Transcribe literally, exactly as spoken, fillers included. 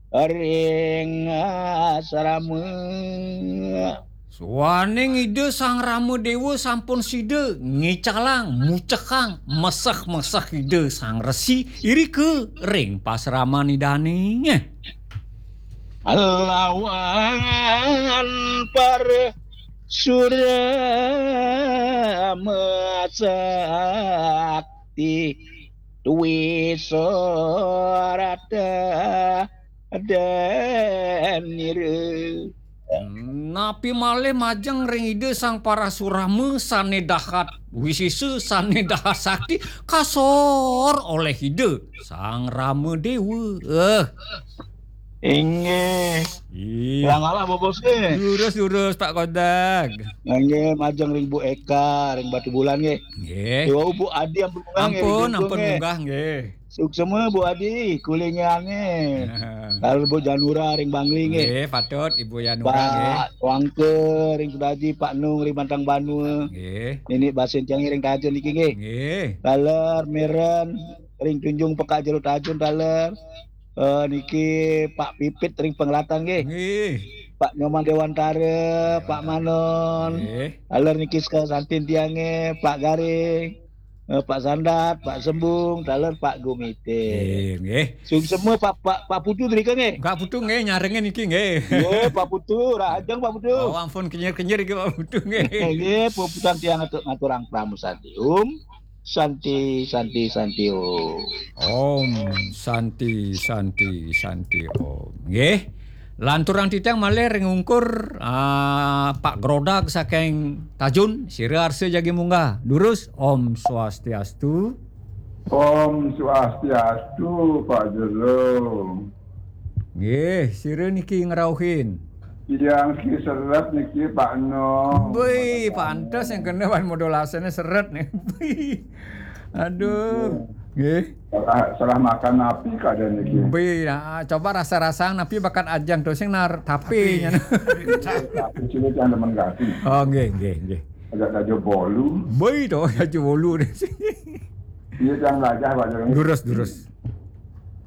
Ring asrama. Suwaning Ida Sang Rama Dewa sampun sida ngicalang, mucekang, meseh-meseh Ida Sang Resi irika ring pasraman Idane. Lawan para surama sakti, dwi sorata danira. Napi malih majeng ring Ida Sang Parasurama sane dahat wisisa, sane dahat sakti, kasor olih Ida Sang Rama Dewa. Eh. Inggih. Ih. Ngalah, Bos, nggih. Durus, durus, Pak Kodag. Nggih, majeng ring Bu Eka, ring Batubulan, nggih. Nggih. Iwau Bu Adi ampun munggah, nggih, ring Jungkung, nggih. Ampun, ampun munggah, nggih. Suksma Bu Adi, kulingange. Lalu Bu Janura ring Bangli, nggih. Nggih, patut Ibu Janura, nggih. Pak Wangke ring Sudaji, Pak Nung ring Bantang Banua. Nggih. Nini Basin tiang ring Tajun niki, nggih. Nggih. Taler Meren ring Tunjung Pekak Jero Tajun, taler. Eh, niki Pak Pipit ring Penglatan, nggih. Nggih. Pak Nyoman Dewantara, Pak Dewantara. Manon. Nggih. Taler niki sekaa santin tiange, Pak Garing, eh, Pak Sandat, Pak Sembung, taler Pak Gumite. Nggih, nggih. Suksma Pak, Pak, Pak Putu drika, nggih. Pak Putu, nggih, nyarengin niki, nggih. Nggih, Pak Putu, rahajeng Pak Putu. Oh, ampun kenyir-kenyir iki Pak Putu, nggih. Nggih, puputang tiang ngatur, ngaturang pramusantium. Santi, santi, santi, Om. Om Santi, Santi, Santi, Om. Nggih. Lanturang titiang malih ring ungkur, ah, Pak Grodag saking Tajun, sira arsa jagi munggah. Durus, Om Swastiastu. Om Swastiastu, Pak Jero. Nggih, sira niki ngrauhin. Tiang ki seret niki, Pak No. Bui, pantes yang kena wan modulasannya seret nih. Bui. Aduh. Nggih. Salah, salah makan napi keadaan niki? Bui, nah, coba rasa-rasa napi bakat ajang tuh sing nar tapi. Tapi. Tapi sini jangan teman kasih. Oh, nggih, nggih, nggih. Agak aja bolu. Bui tuh, aja bolu deh. Iya, jangan belajar, Pak Jero. Durus, durus.